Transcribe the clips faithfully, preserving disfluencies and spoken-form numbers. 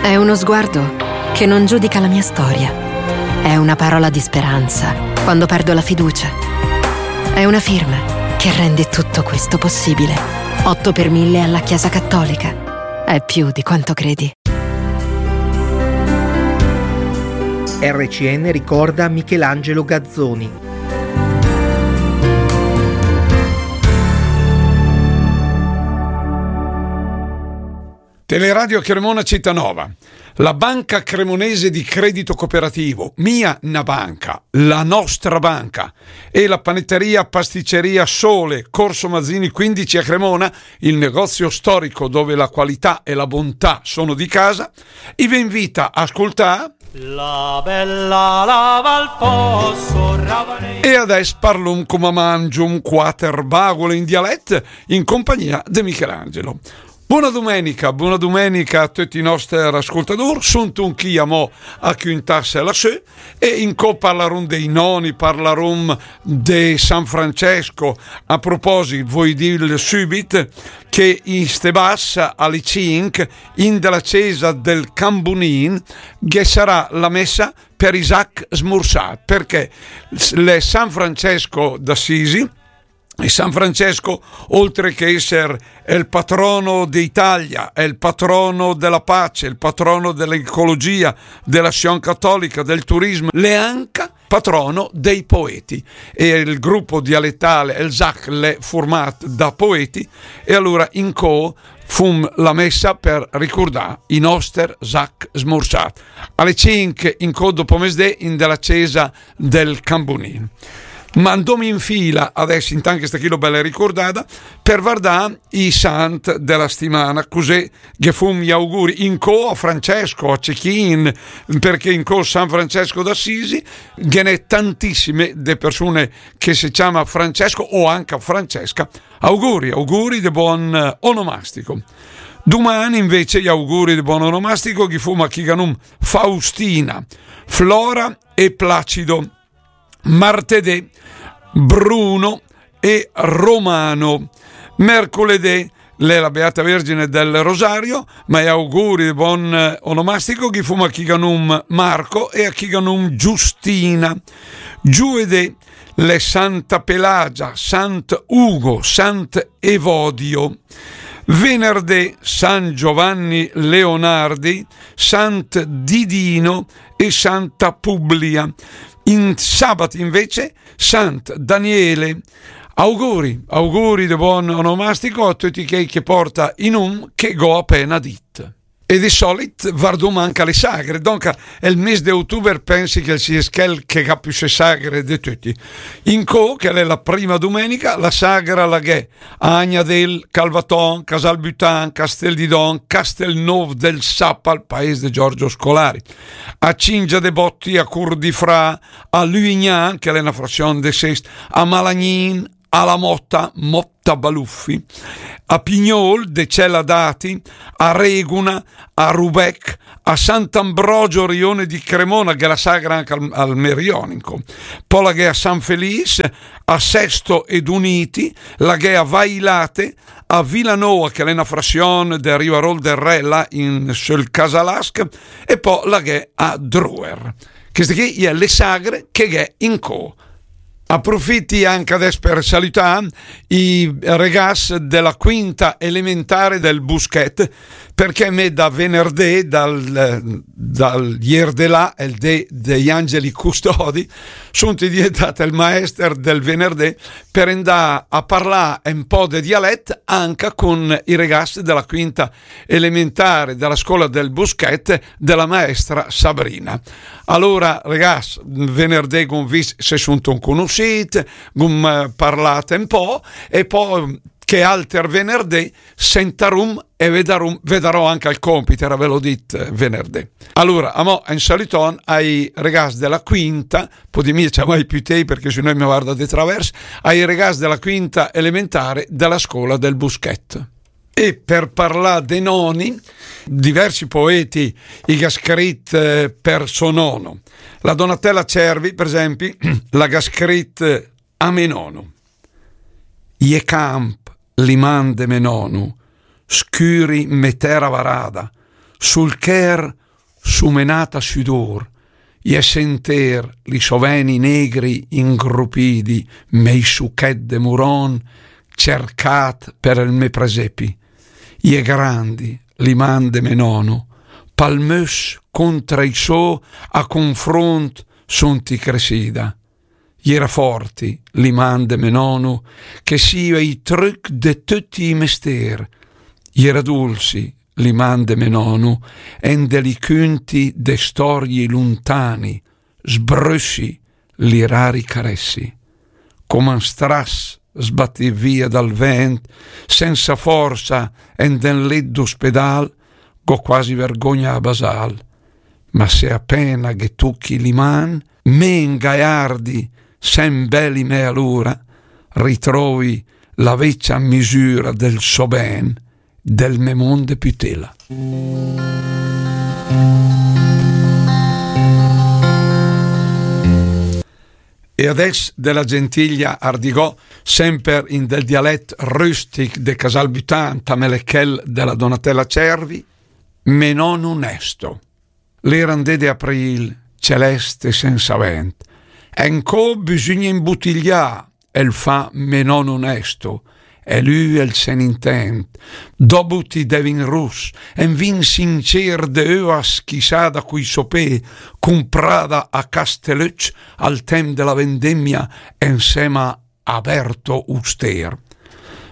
È uno sguardo che non giudica la mia storia. È una parola di speranza quando perdo la fiducia. È una firma che rende tutto questo possibile. Otto per mille alla Chiesa Cattolica. È più di quanto credi. R C N ricorda Michelangelo Gazzoni. Teleradio Cremona Cittànova. La Banca Cremonese di Credito Cooperativo, mia na banca, la nostra banca, e la panetteria pasticceria Sole, Corso Mazzini quindici a Cremona, il negozio storico dove la qualità e la bontà sono di casa, i ve invita a ascoltà La bella lava al fosso ravanello. E adès parlum cum'è mangium quater bagole in dialett in compagnia de Michelangelo. Bona dumenica, bona dumenica a töcc i nòster ascoltadùr. Sum chì amò a cüntàss la sö e incò parlarum dei nòni, parlarum de San Francesco. A proposit, voi dìl sübit che in ste bass a le cinch, in de la cesa del Cambunin, ghe sarà la messa per i sach smursàcc, perché l'è San Francesco d'Assisi, e San Francesco, oltre che esser el patrono d'Italia, è il patrono della pace, il patrono dell'ecologia, dell'azione cattolica, del turismo, l'è anca patrono dei poeti. E il gruppo dialettale, el sach, l'è furmat da poeti, e allora incò fum la messa per ricurdà i nòster sach smursàcc. A le cinch incò dopo mesdé in de la cesa del Cambunin. Ma andom in fila adès, intant che sta chì l'è bella ricurdada, per vardà i sant de la stimana, cusì ghe fum i auguri incò a Francesco, a Cechin, perché incò San Francesco d'Assisi ghe n'è tantissime de persune che se ciama Francesco o anca Francesca. Auguri, auguri de buon, eh, onomastico. Duman invece i auguri de buon onomastico ghi fum a chi gh'ha num Faustina, Flora e Placido. Martedì, Bruno e Romano. Mercoledì, l'è la Beata Vergine del Rosario, ma i auguri de buon, eh, onomastico ghi fum a chi gh'ha num Marco e a chi gh'ha num Giustina. Giuedì, l'è Santa Pelagia, Sant Ugo, Sant Evodio. Venerdì, San Giovanni Leonardi, Sant Didino e Santa Publia. In sabat invece, Sant Daniele. Auguri, auguri de buon onomastico a töcc chei che porta i num che gh'ho apena dit. E de solit vardum anca le sagre, donca el mes de otuber pensi che el sie chel che gh'ha püssé sagre de töcc. Incò, che l'è la prima dumenica, la sagra la gh'è a Agnadel, Calvaton, Casalbutan, Casteldidon, Castelnov del Sapal, paes de Giorgio Scolari, a Cingia de Botti, a Curdifra, a Luignan, che l'è na frazion de Sest, a Malagnin, a La Motta, Motta Baluffi, a Pignol, Decella d'Ati, a Reguna, a Rubec, a Sant'Ambrogio Rione di Cremona, che gh'è la sagra anca al, al Merionico. Po la gh'è a San Felice, a Sesto ed Uniti, la gh'è a Vailate, a Vilanova, che l'è na frazion de Rivarol del Re, là in, sul Casalasc, e po la gh'è a Druer. Cheste chì i è le sagre che gh'è incò. Aprofiti anca adès per salütà i regas de la quinta elementare del Buschet, perché me da venerdé, dal, dal ier de là, el dé dei angeli custodi, sunt diventat el maester del venerdé per andà a parlà un po' de dialet anca con i regas de la quinta elementare de la scola del Buschet de la maestra Sabrina. Alora, regas, venerdé gh'um vist se sunt un cunussit, gh'um, eh, parlat un po', e po' che alter venerdé sentarum e vedarum, vedarò anca el compit, era ve l'ho dit, eh, venerdé. Alora, amò, un saluton ai regas de la quinta, podi mia ciamai püté perché se no i me varda de travers, ai regas de la quinta elementare de la scola del Buschet. E per parlà de noni, diversi poeti i gh'ha scrit, eh, per so nono. La Donatella Cervi, per esempi, la gh'ha scrit, eh, a me nono. I è camp li man de me nono, scüri me tera varada, Sul chèr sumenàt a südùr, i è sentér li sò vèni négri ingrupidi, mé i suchèt de muron, cercàt per el mé presepi. I è grandi li man de mé nòno, palmös contra i sò a confront sont i cresida. I era forti li man de mé nòno, che sìa i trüc de töcc i mestér. I era dulsi li man de mé nòno, en de li cünti de stòrii luntani, sbrössi li rari caressi. Coma 'n stras sbatìt via dal vènt, sensa forsa, en del let d'ospedàl, gh'ó quasi vergogna a basàl. Ma se apéna ghe tuchi li man, mé 'n gaiardi, sem bèli mé alura, ritrovi la vecia misüra del sò ben, del mé món de pütela. E adès de la gentiglia Ardigò, semper in del dialèt rüstic de Casalbütan, tamèl chèl de la Donatella Cervi, Mé nòno Nèsto. L'era 'n dé de aprìl, celèst e sensa vènt. Encò bisügna imbutiglià, el fa mé nòno Nèsto, e lü el se n'intènd. Dò buti de vin rus, en vin sincér de öa schisada cui sò pé, cumprada a Castelöcc al temp de la vendemia ensèma a Berto Ustér.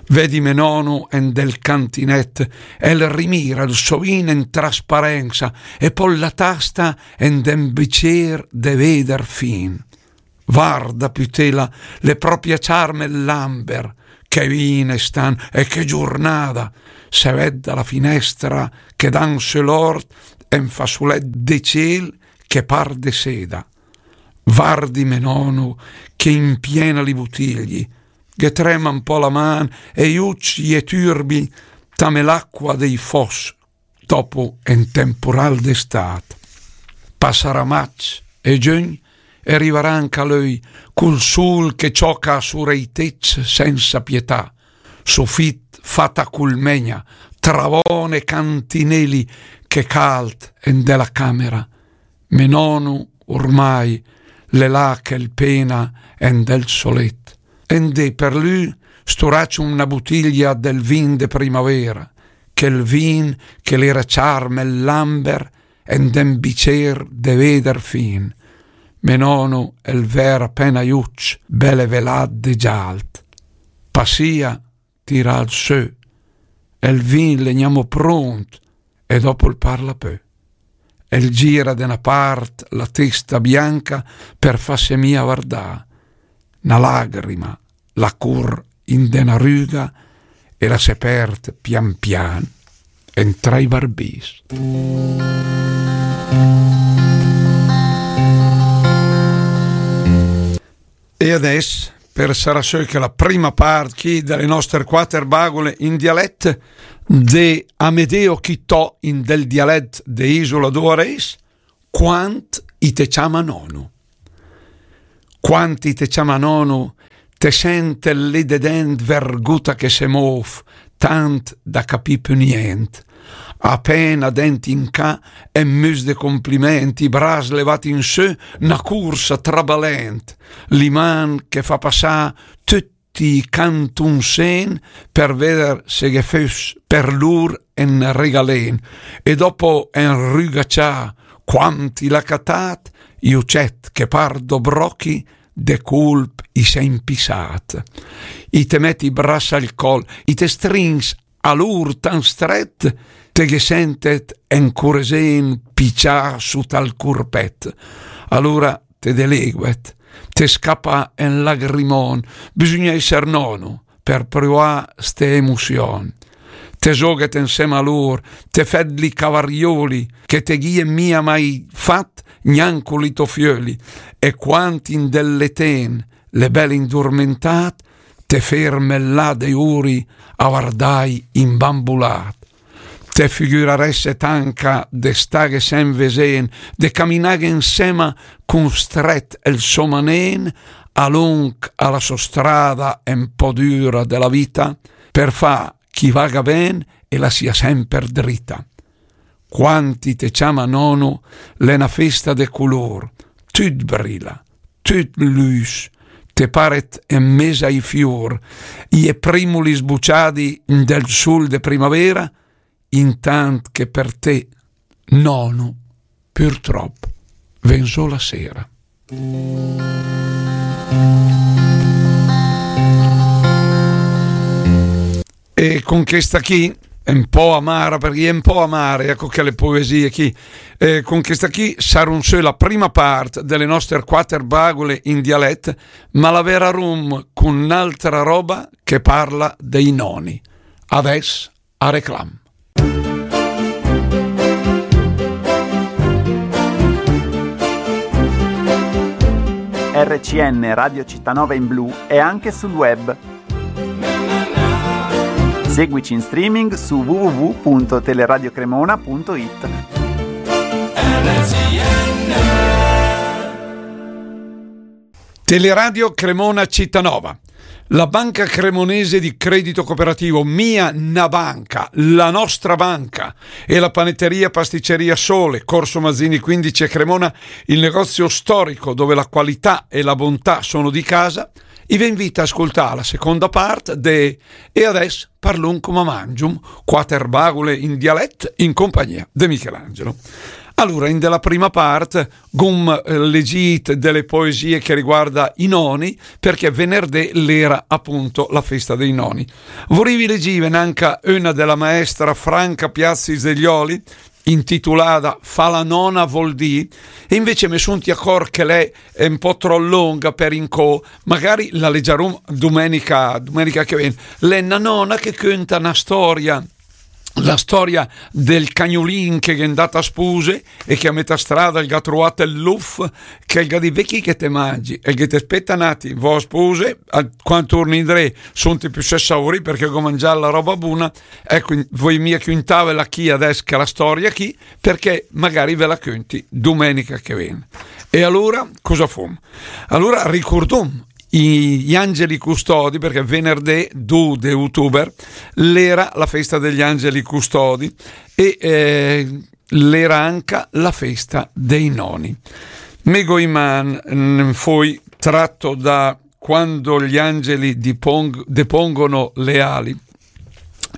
Vedi mé nòno en del cantinèt, el rimira el sò vin en trasparensa, e pò la tasta en den bicér de véder fin. Varda, pütela, l'è pròpi a ciarme l'amber, che vin stan e che giurnada, se ved da la finèstra che dan sö l'ort en fasulèt de ciel che par de seda. Vardi mé nòno che impiena li butigli, ghe trema 'n pò la man e i ucc i è türbi, tamé l'acqua dei fòs dopo en tempural d'estàt. Passarà magg e giögn e rivarà anca löi, cul sul che cioca sura i tecc sensa pietà, sufit fat a culmegna, travòn e cantineli che calt en de la camera. Mé nòno, urmai, l'è là che 'l pena en del sò let. En dé per lü sturacc una butiglia del vin de primavera, chel vin che l'era ciarme l'amber en den bicér de véder fin. Mé nòno el vèr apéna i ucc, bele velàt de gialt. Pasìa, tira al sö, el vin l'è gnamò pront, e dopo 'l parla pö. El gira de na part la testa bianca per fasse mia vardà. Na lagrima la cur in de na rüga e la se perd pian pian en tra i barbis. E adès, per sarà sö che la prima part chi de le nòster quater bagule in dialèt, de Amedeo Chitò in del dialèt de Isola d'Oarés, Quant i te ciama nòno. Quant i te ciama nòno, te sèntet lé de dènt verguta che se móf, tant da capì pü niènt. Apéna dènt in cà, en müs de complimènt, i bras levàt in sö, na cursa trabalènt, li man che fa passà tüti i cantunsén per véder se ghe föss per lur en regalén. E dopo en rüga cià, quant i l'à catàt, i ucèt che par do brochi, de culp i s'è impissàt. I te mèt i bras al còl, i te strins a lur tan strèt, te ghe sèntet en curesén picià sut al curpèt. Alura te deleguet, te scapa en lagrimòn, bisügna èsser nòno per prüà ste emusiòn. Te zoghet ensèma a lur, te fèt li cavariöli, che te ghìet mia mai fat gnanca cun li tò fiöli, e quant in del letén l'è bèl indurmentàt, te férmet là de uri a vardài imbambulàt. Te figürarèsset anca de stàghe sem vesén, de caminàghe ensèma cun strèt el sò manén, a lunc a la sò strada en pò düra de la vita, per fà ch'i vaga ben e la sia semper drita. quand i te ciama nono, l'è na festa de culur, tüt brila, tüt lüs, te paret en mes ai fiur, i è primuli sbuciadi del sul de primavera, intant che per te, nono, purtrop, ven sö la sera. E con questa chi, un po' amara, perché è un po' amara, ecco che le poesie chi, eh, con questa chi sarun sö la prima part delle nostre quater bagule in dialet, ma la verarum con un'altra roba che parla dei noni. Adès a reclam. R C N Radio Città Nova in blu è anche sul web. Seguici in streaming su w w w punto teleradio cremona punto i t. Teleradio Cremona Città Nova. La banca cremonese di credito cooperativo, mia na banca, la nostra banca, e la panetteria pasticceria Sole, Corso Mazzini quindici a Cremona, il negozio storico dove la qualità e la bontà sono di casa, i ve invita a ascoltare la seconda parte de E adès parlum coma mangium, quater bagule in dialet in compagnia de Michelangelo. Allora, in della prima part gum, eh, legit delle poesie che riguarda i noni, perché venerdì l'era appunto la festa dei noni. Vorevi legive anche una della maestra Franca Piazzi Zeglioli, intitolada Fa la nona vol dì, e invece me sunti acor che l'è un po' tro longa per incò, magari la leggiarum domenica, domenica che vien. L'è na nona che cönta na storia, la storia del cagnulin che gh'è andat a spuse e che a metà strada el gh'ha truat el luf, che el gh'ha dit: "Ve chi che te mangi?" E el ghe te: "Speta n'atim, vo a spuse, a, quand turni indré, sunti piö saurì perché go mangià la roba buna." Ecco, in-, voi mia cüntavela chi adès che la storia chi, perché magari ve la cönti domenica che vien. E allora, cosa fum? Allora ricurdum i, gli angeli custodi, perché venerdì due de ottobre l'era la festa degli angeli custodi e, eh, l'era anca la festa dei noni. Me go in man, mm, foi tratto da Quando gli angeli dipong-, depongono le ali,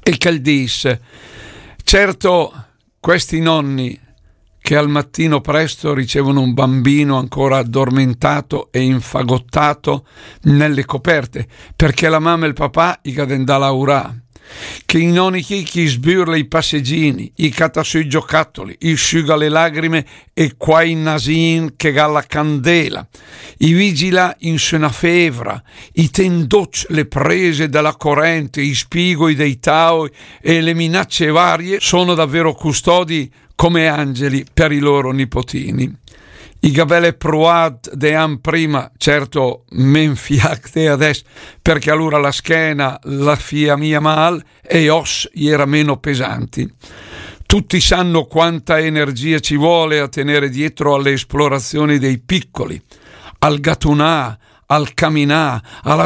e che el dis: "Certo, questi nonni che al mattino presto ricevono un bambino ancora addormentato e infagottato nelle coperte, perché la mamma e il papà i gh'à de 'ndà a laurà, che i noni chi, chi sbürla i passeggini, i cata sö i giocattoli, i süga le lagrime e quai nasin che gh'à la candela, i vigila in sö na fevra, i ten d'och le prese della corrente, i spigoi dei taoi e le minacce varie, sono davvero custodi come angeli per i loro nipotini." I gh'à bele pruat de an prima, certo, men fiach de adès, perché allora la schena la fia mia mal e i os i era meno pesanti. Tutti sanno quanta energia ci vuole a tenere dietro alle esplorazioni dei piccoli, al gatunà, al caminà, alla